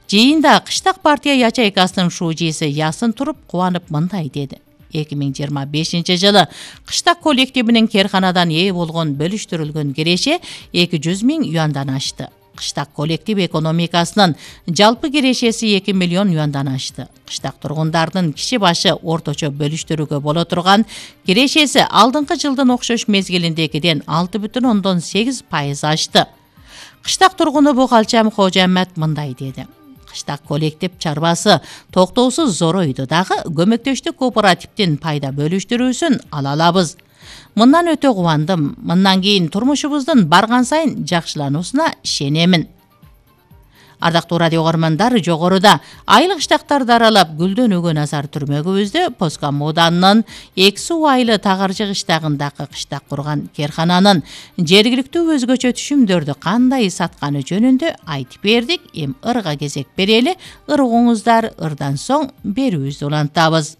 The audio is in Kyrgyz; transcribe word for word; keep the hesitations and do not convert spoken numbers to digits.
Жыйында кыштак партия ячейкасынын шужиси Ясын Туруп кубанып мындай деди. эки миң жыйырма бешинчи жылы кыштак коллективинин Керканадан ээ болгон бөлүштүрүлгөн киреше эки жүз миң юандан ашты. Кыштак коллектив экономикасынын жалпы кирешеси эки миллион юандан ашты. Кыштак тургундардын киши башы орточо бөлүштүрүүгө боло турган кирешеси алдыңкы жылдын окшош мезгилиндегиден алты бүтүн ондон сегиз пайыз ашты. Кыштак тургуну Букалчам Кожоаммат мындай деди. Кыштак коллектив чарбасы токтоосуз зоройду дагы көмөктөштүк кооперативдин пайда бөлүштүрүүсүн ала алабыз. Мындан өтө кубандым. Мындан кийин турмушубуздун барган сайын жакшылануусуна ишенемин. Ардактуу радио көрөрмандар, жогоруда айыл кыштактарды аралап гүлдөнүүгө назар түрмөгүбүздө Поска Мууданынын эки суу айылы Тагаржы кыштагындагы кыштак курган Керкананын жергиликтүү өзгөчө түшүмдөрдү кандай сатканы жөнүндө айтып бердик. Эми ырга кезек берели. Ыр угуңуздар, ырдан соң берүүбүздү улантабыз.